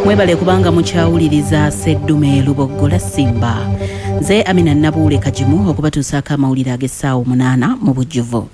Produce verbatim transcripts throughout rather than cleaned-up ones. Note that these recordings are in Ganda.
Mwebale kubanga mukyawuliriza Seddume Luboggola Simba. Nze Amina Nabuule Kagimu okubatuusaako amawulire ag'essaawa munaana mu bujjuvu.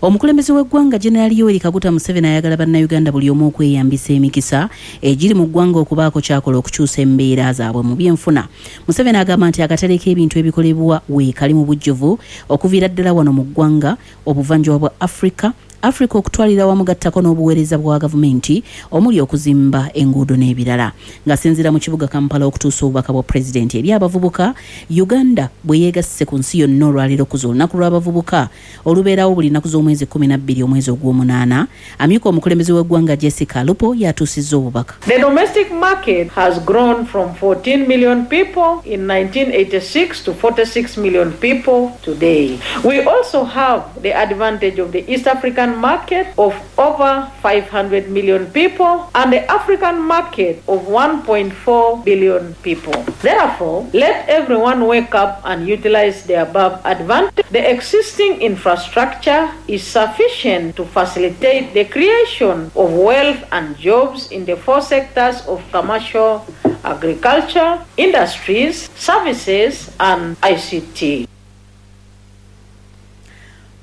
Omukulembeze w'eggwanga General Yoweri Kaguta Museveni ayagala bannayuganda buli omu okweyambisa emikisa egiri mu ggwanga okubaako ky'akola okukyusa embeera zaabwe mu byenfuna. Museveni agamba nti akatale k'ebintu ebikolebwa weekali mu bujjuvu okuviira ddala wano mu ggwanga, obuvanjuba bwa Afrika, Afrika okutwalira wamu gattako n'obuweereza bwa gavumenti omuli okuzimba enguudo n'ebirala. Ng'asinziira mu kibuga Kampala okutuusa obubaka bwa pulezidenti eri abavubuka, Uganda bwe yeegasse ku nsi yonna olwaleero okuza olunaku lw'abavubuka olubeerawo buli nnaku z'omwezi kkumi na bbiri omwezi ogw'omunaana, amyuka omukulembeze w'eggwanga Jessica Alupo yatuusizza obubaka. The domestic market has grown from fourteen million people in nineteen eighty-six to forty-six million people today. We also have the advantage of the East African market of over five hundred million people and the African market of one point four billion people. Therefore, let everyone wake up and utilize the above advantage. The existing infrastructure is sufficient to facilitate the creation of wealth and jobs in the four sectors of commercial, agriculture, industries, services, and I C T.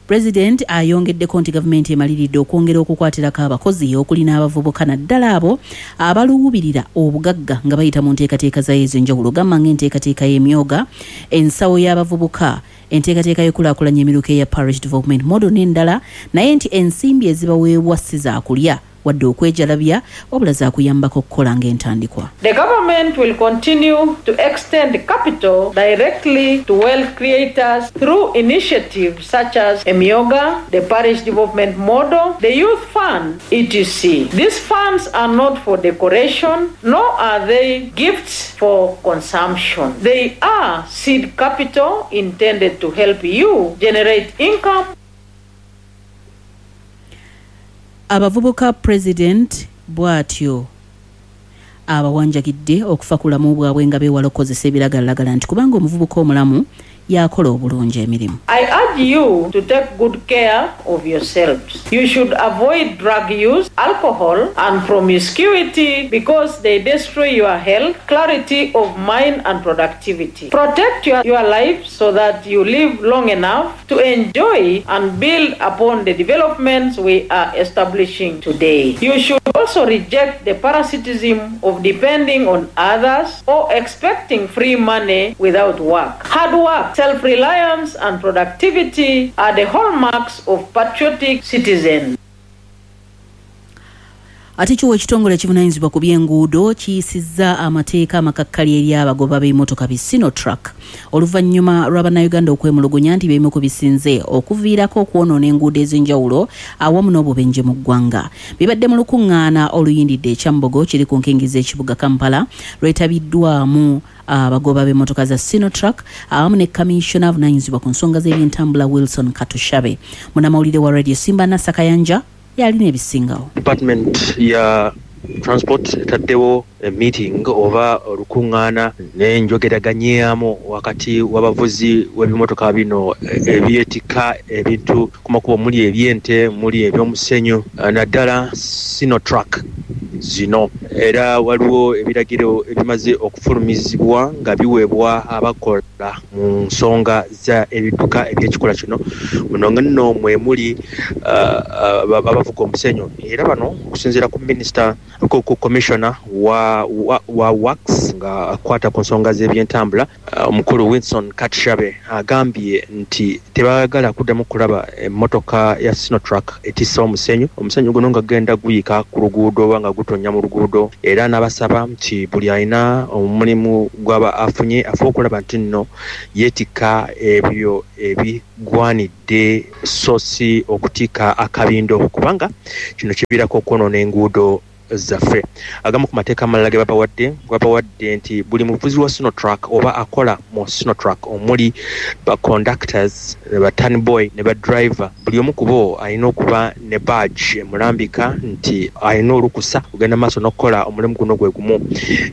President ayongeddeko nti gavumenti emaliridde okwongera okukwatirako abakozi okuli n'abavubuka naddala abo abaluubirira obugagga nga bayita mu nteekateeka zayo ez'enjawulo, gamba ng'enteekateeka y'emyoga, ensawo y'abavubuka, enteekateeka y'okulaakulanya emiruka eya Parish Development Model n'endala, naye nti ensimbi ezibaweebwa si zaakulya wadde okwejalabya wabula zaakuyambako okukola ng'entandikwa. The government will continue to extend capital directly to wealth creators through initiatives such as Emyoga, the Parish Development Model, the Youth Fund, et cetera. These funds are not for decoration, nor are they gifts for consumption. They are seed capital intended to help you generate income. Abavubuka President bw'atyo abawanjagidde okufa ku bulamu bwabwe nga beewala okukozesa ebiragalalagala nti kubanga omuvubuka omulamu yakola obulungi emirimu. I urge you to take good care of yourselves. You should avoid drug use, alcohol, and promiscuity because they destroy your health, clarity of mind, and productivity. Protect your, your life so that you live long enough to enjoy and build upon the developments we are establishing today. You should also reject the parasitism of depending on others or expecting free money without work. Hard work, self-reliance, and productivity are the hallmarks of patriotic citizens. Ate kyo ekitongole ekivunaanyizibwa ku by'enguudo kiyisizza amateeka amakakkali eri abagoba b'emmotoka bi Sinotruck oluvannyuma lw'abannayuganda okwemulugunya nti beemu ku bisinze okuviirako okwonoona enguudo ez'enjawulo awamu n'obubenje mu ggwanga. Bibadde mu lukuŋŋaana oluyindidde e Kyambogo kiri ku nkingi z'ekibuga Kampala lwetabiddwamu abagoba b'emmotoka za Sinotruck awamu ne kamishona avunaanyizibwa ku nsonga z'ebyentambula Wilson Katushabe. Munnamawulire wa Radio Simba Nassa Kayanja yalina ebisingawo. Department ya Transport etaddewo meeting oba olukuŋŋaana n'enjogeraganyaamu wakati w'abavuzi w'ebimotoka bino ebyetikka ebintu ku makubo, muli eby'ente, muli eby'omusenyu, naddala Sinotruck zino. Era waliwo ebiragiro ebimaze okufulumizibwa nga biweebwa abakola mu nsonga za ebidduka eby'ekikola kino. Muno nno mwe muli abavuga omusenyu, era bano okusinziira ku minisita, ku commissioner wa wa, wa works nga akwata ku nsonga z'ebyentambula, omukulu Wilson Katushabe agambye nti tebaagala kuddamu kulaba emmotoka ya Sinotruck etisse omusenyu. Omusenyu guno nga gugenda guyika ku luguudo oba nga gutonnya mu luguudo, era n'abasaba nti buli alina omulimu gw'aba afunye afe okulaba nti nno yeetikka ebyo ebigwanidde so si okutikka akabindo, kubanga kino kiviirako okwonoona enguudo zaffe. Agamu ku mateeka amalala ge babawadde babawadde nti buli muvuzi wa Sinotruck oba akola mu Sinotruck omuli ba conductors, ba turnboy ne ba driver, buli omu ku bo alina okuba ne badge emulambika nti alina olukusa okugenda maaso n'okukola omulimu guno gwe gumu.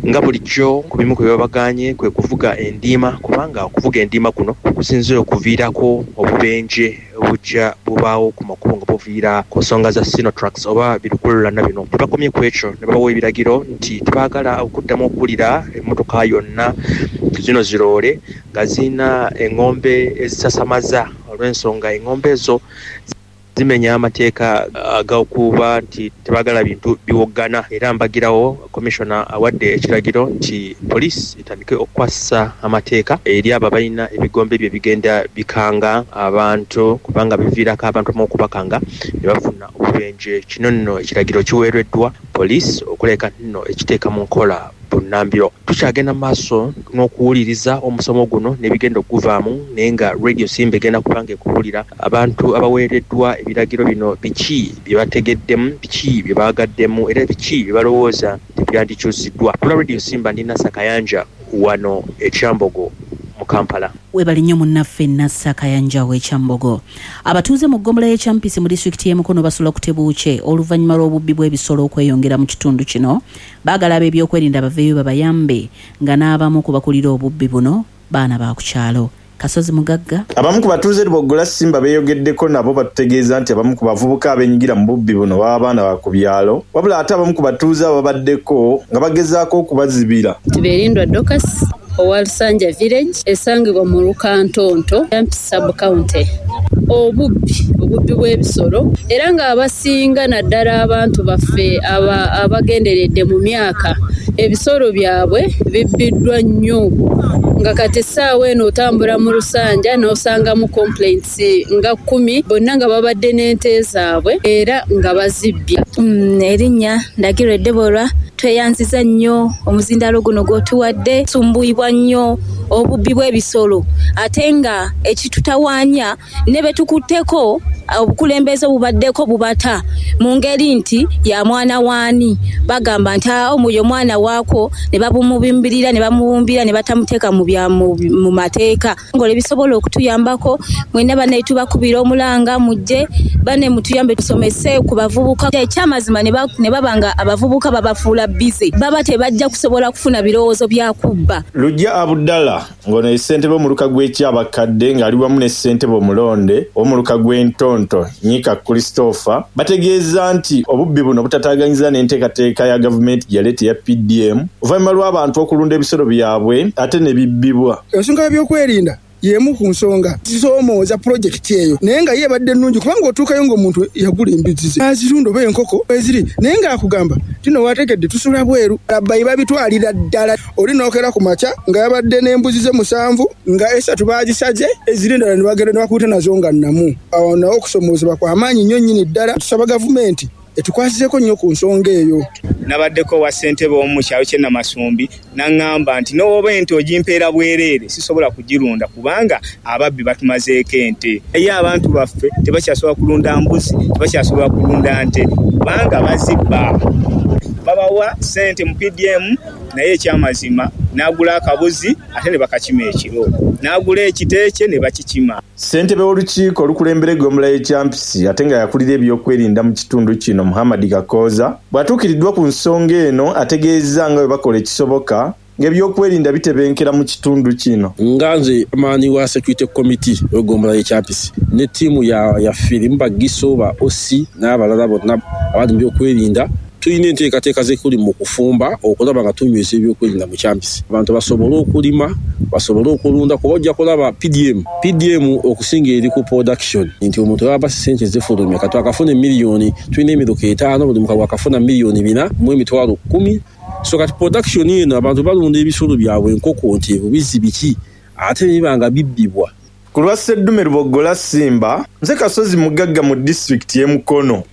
Nga bulijjo ku bimu ku bye babagaanye kwe kuvuga endiima, kubanga okuvuga endiima kuno kusinze okuviirako obubenje obujja bubaawo ku makubo nga buviira ku nsonga za Sinotrucks oba birukululana bino. Tebakomye ku ekyo ne babawa ebiragiro nti tebaagala okuddamu okuwulira emmotoka yonna zino ziroole nga zirina eng'ombe ezisasamaza olw'ensonga eng'ombe ezo zimenya amateeka ag'okuba nti tebaagala bintu biwoggana. Era mbagirawo commissioner awadde ekiragiro nti poliisi etandike okukwasisa amateeka eri abo abalina ebigombe bye bigenda bikanga abantu kubanga biviirako abantu abamu okubakanga ne bafuna obubenje. Kino nno ekiragiro kiweereddwa poliisi okuleka nno ekiteeka mu nkola bunnambiro. Tukyagenda mu maaso n'okuwuliriza omusomo guno n'ebigenda okuvaamu, naye nga Radio Simba egenda kuba nga ekubuulira abantu abaweereddwa ebiragiro bino biki bye bategeddemu, biki bye baagaddemu, era biki bye balowooza nti byandikyusiddwa. Kula Radio Simba ndi Nassa Kayanja wano e Kyambogo mu Kampala. Webale nnyo munnaffe Nassa Kayanja w'e Kyambogo. Abatuuze mu ggombolola y'e Kyampisi mu disitulikiti y'e Mukono basula ku tebuukye oluvannyuma lw'obubbi bw'ebisolo okweyongera mu kitundu kino. Baagala ab'ebyokwerinda baveeyo babayambe nga n'abamu ku bakulira obubbi buno baana ba ku kyalo. Kasozi Mugagga. Abamu ku batuuze Luboggola Simba beeyogeddeko nabo batutegeeza nti abamu ku bavubuka abeenyigira mu bubbi buno baba baana ba ku byalo, wabula ate abamu ku batuuze ababaddeko nga bagezaako okubazibira. Tuberindwa Dorcas owa Lusanja Village esangibwa mu Lukantonto, Kyampisi Sub County. Obubbi obubbi bw'ebisolo era ng'abasinga naddala abantu baffe abagenderedde mu myaka ebisolo byabwe bibbiddwa nnyo, nga kati essaawa eno otambula mu Lusanja n'osangamu complaints nga kkumi bonna nga babadde n'ente zaabwe era nga bazibbye. Mm, erinnya Ndagirwe Deborah. Tweyanziza nnyo omuzindaalo guno gw'otuwadde. Tusumbuyibwa nnyo obubbi bw'ebisolo ate nga ekitutawaanya ne be tukutteko obukulembeze obubaddeko bubata mu ngeri nti ya mwana waani, bagamba nti omuyo mwana waako ne babumubimbirira ne bamubumbira ne batamuteeka mu bya mu mateeka. Ng'olwo ebisobola okutuyambako mwenna banne tubakubira omulanga mujje banne mutuyambe tusomese ku bavubuka. Ekyamazima ne baba nga abavubuka babafuula bize, baba tebajja kusobola kufuna birowoozo bya kubba. Lujja Abdallah ng'ono ye ssentebe w'omuluka gw'Ekyabakadde ng'ali wamu ne ssentebe omulonde w'omuluka gw'Entonto Nyika Christopher bategeeza nti obubbi buno butataaganyizza n'enteekateeka ya gavumenti gye yaleeta eya P D M oluvannyuma lw'abantu okulunda ebisolo byabwe ate ne bibbibwa. Ensonga y'ebyokwerinda y'emu ku nsonga zisoomooza pulojekiti eyo, naye nga ye ebadde nnungi kubanga otuukayo ng'omuntu yagula embizzi ze azirunda oba enkoko eziri, naye ng'akugamba tino wategedde tusula bweru. Abbayi babitwalira ddala. Oli n'okera ku makya nga yabadde n'embuzi ze musanvu nga esatu baagisaze eziri endala ne bagenda ne bakuuta nazo nga nnamu. Awo nawo okusomoozebwa kwa maanyi nnyo nnyini ddala. Tusaba gavumenti etukwasizeeko nnyo ku nsonga eyo. Nabaddeko wa ssentebe omu mu kyalo ky'e Namasumbi n'aŋŋamba nti n'oba ente ogimpeera bwereere sisobola kugirunda kubanga ababbi batumazeeko ente. Ye abantu baffe tebakyasobola kulunda mbuzi, tebakyasobola kulunda nte kubanga bazibba. Babawa ssente mu P D M naye ekyamazima n'agula akabuzi ate ne bakakima ekiro, n'agula ekiteekye ne bakikima. Ssentebe w'olukiiko olukulembera eggombolola y'e Kyampisi ate nga yakulira ebyokwerinda mu kitundu kino Muhammad Kakooza bw'atuukiriddwa ku nsonga eno ategeezza nga bwe bakola ekisoboka ng'ebyokwerinda bitebenkera mu kitundu kino. Nga nze amaani wa security committee w'eggombolola y'e Kyampisi ne ttiimu ya, ya firimu bagiso ba O C n'abalala bonna abali mu byokwerinda tulina enteekateeka zekuli mu kufumba okulaba nga tunyweza ebyokwerinda mu Kyampisi, abantu basobole okulima, basobole okulunda, kuba ojja kulaba P D M P D M okusinga eri ku production nti omuntu aba ssente zifulumya kati akafuna emiliyoni, tulina emiruka etaano, buli mukago akafuna miliyoni bina mu emitwalo kkumi. So kati production eno abantu balunda ebisolo byabwe enkoko nti ebubizi biki ate biba nga bibbibwa. Ku lwa Sseddume Luboggola Simba, nze Kasozi Mugagga mu disitulikiti y'e Mukono.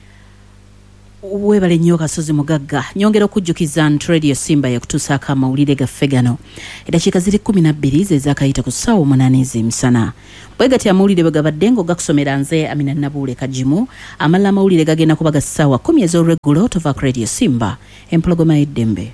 Webale nnyo Kasozi Mugagga. Nyongera okujjukiza nti Radio Simba yakutuusaako amawulire gaffe gano. Eddakiika ziri kkumi na bbiri ze zaakayita ku ssaawa omunaana ez'emisana. Bwe gatyo amawulire bwe gabadde ng'ogakusomera nze Amina Nabuule Kagimu. Amalala amawulire gagenda kuba ga ssaawa kkumi ez'olweggulo. Tova ku Radio Simba, empologoma y'eddembe.